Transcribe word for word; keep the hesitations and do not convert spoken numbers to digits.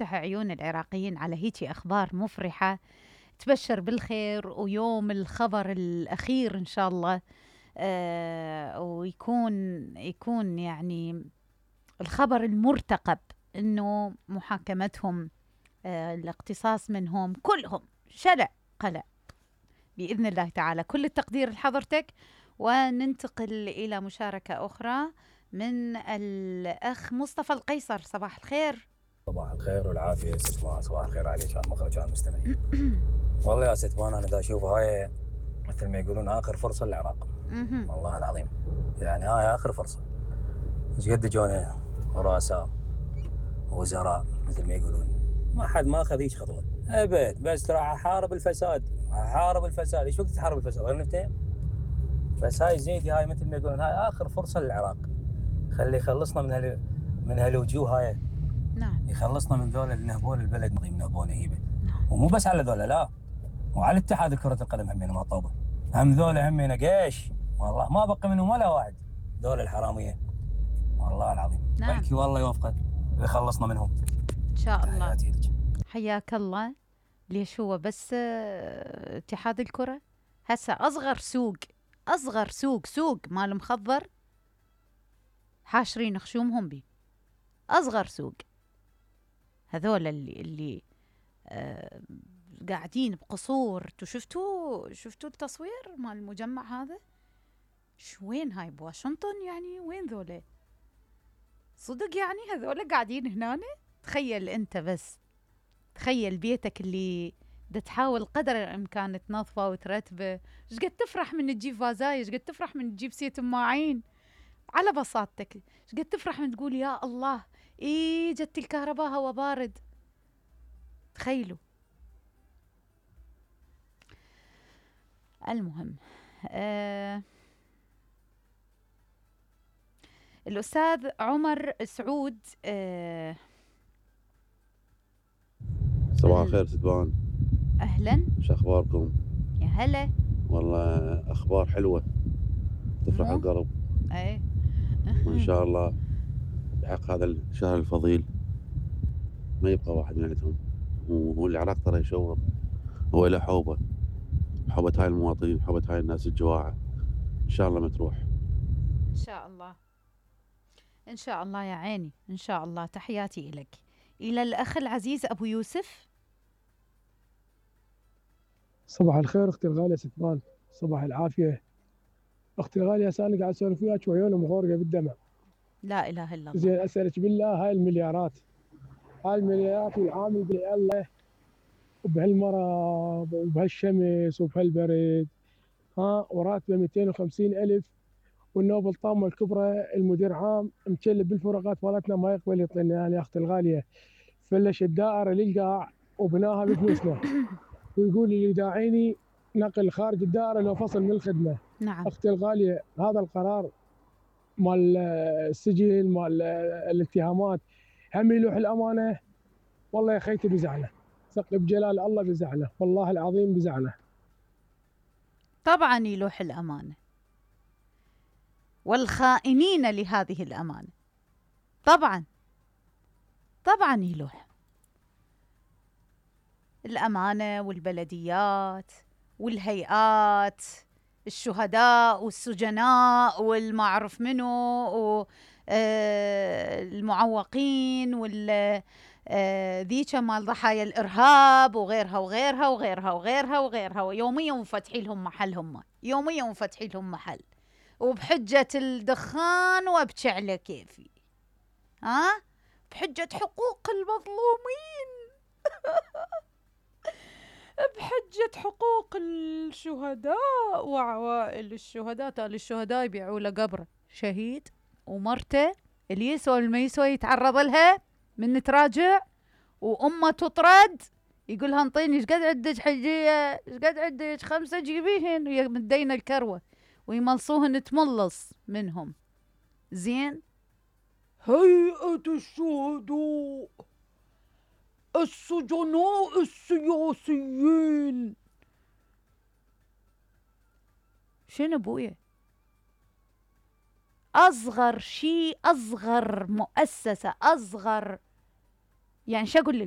عيون العراقيين على هيجي أخبار مفرحة تبشر بالخير، ويوم الخبر الأخير إن شاء الله آه ويكون يكون يعني الخبر المرتقب إنه محاكمتهم، آه الاقتصاص منهم كلهم شلع قلع بإذن الله تعالى. كل التقدير لحضرتك، وننتقل إلى مشاركة أخرى من الأخ مصطفى القيصر. صباح الخير. صباح الخير والعافية ست مان، صباح الخير عليك على المخرج وعلى المستمعين. والله يا ست مان أنا دا أشوف هاي مثل ما يقولون آخر فرصة للعراق. والله العظيم يعني هاي آخر فرصة. ايش قد جونا رؤساء وزراء مثل ما يقولون، ما حد ما أخذ هيج خطوة أبد، بس راح أحارب الفساد أحارب الفساد. إيش وقت تحارب الفساد غير نفتين؟ بس هاي زيدي، هاي مثل ما يقولون هاي آخر فرصة للعراق. خلي يخلصنا من هال من هالوجوه هاي. نعم. يخلصنا من ذول اللي نهبون البلد، نهبون هيبه. ومو بس على ذولا، لا، وعلى اتحاد كرة القدم همين ما طوبه. هم ذولا همين قيش، والله ما بقى منهم ولا واحد، ذول الحرامية والله العظيم. نعم. بلكي والله يوفقه ويخلصنا منهم إن شاء الله. لك. حياك الله. ليش هو بس اتحاد الكرة هسه أصغر سوق أصغر سوق سوق مال مخضر حاشرين خشومهم بي. أصغر سوق هذول اللي اللي آه قاعدين بقصور. تو شفتوا شفتوا التصوير مال المجمع هذا؟ شو وين هاي بواشنطن يعني؟ وين ذولا صدق يعني؟ هذول قاعدين هنا. تخيل انت بس، تخيل بيتك اللي دا تحاول قدر الامكان تنظفه وترتبه. ايش قد تفرح من تجيب فازاي، ايش قد تفرح من تجيب سيت ماعين على بساطتك، ايش قد تفرح من تقول يا الله ايه جت الكهرباء هوا بارد. تخيلوا. المهم آه الأستاذ عمر سعود. آه صباح الخير ستبان. أهلا، شو أخباركم؟ يا هلا. والله أخبار حلوة تفرح القلب. أي وإن شاء الله بحق هذا الشهر الفضيل ما يبقى واحد من عندهم. والعراق ترى يشوف هو له حوبة، حوبة هاي المواطنين، حوبة هاي الناس الجواعة. إن شاء الله ما تروح. إن شاء الله إن شاء الله يا عيني، إن شاء الله. تحياتي إليك. إلى الأخ العزيز أبو يوسف. صباح الخير أختي الغالية ستبان، صباح العافية. أختي الغالية هسه أنا قاعد أسولف وياك وعيوني مغورقة بالدمع. لا إله إلا الله. زين أسألك بالله، هاي المليارات هاي المليارات والعامل بالله وبهالمرض وبهالشمس وبهالبرد، ها وراتبه مئتين وخمسين ألف، والنوب الطامة الكبرى المدير عام مكلب بالفروقات مالتنا ما يقبل يعطينا يعني. يا أختي الغالية فلش الدائرة للقاع وبناها بفلوسنا، ويقول لي داعيني نقل خارج الدائرة لو فصل من الخدمة. نعم. أختي الغالية هذا القرار مال السجن مال الاتهامات هم يلوح الأمانة. والله يا خيتي بزعله، ثق بجلال الله بزعله، والله العظيم بزعله. طبعا يلوح الأمانة والخائنين لهذه الأمانة، طبعا طبعا يلوح الأمانة والبلديات والهيئات، الشهداء والسجناء والمعرف منو والمعوقين وال ذيك مال ضحايا الإرهاب وغيرها وغيرها وغيرها وغيرها وغيرها. ويوميا مفتحي لهم محلهم، يوميا مفتحي لهم محل، وبحجة الدخان وابكي على كيفي، ها بحجة حقوق المظلومين بحجة حقوق الشهداء وعوائل الشهداء. تالي الشهداء يبيعوا له قبره شهيد ومرته اللي يسوى اللي ما يسوى يتعرض لها من تراجع، وأمه تطرد يقولها انطيني ايش قد عندك حجية، ايش قد عندك خمسة جيبيهن، ويمدين الكروة ويملصوهن تملص منهم. زين. هيئة الشهداء، السجناء السياسيين. شنو بويا؟ أصغر شيء، أصغر مؤسسة، أصغر يعني شو أقول لكم،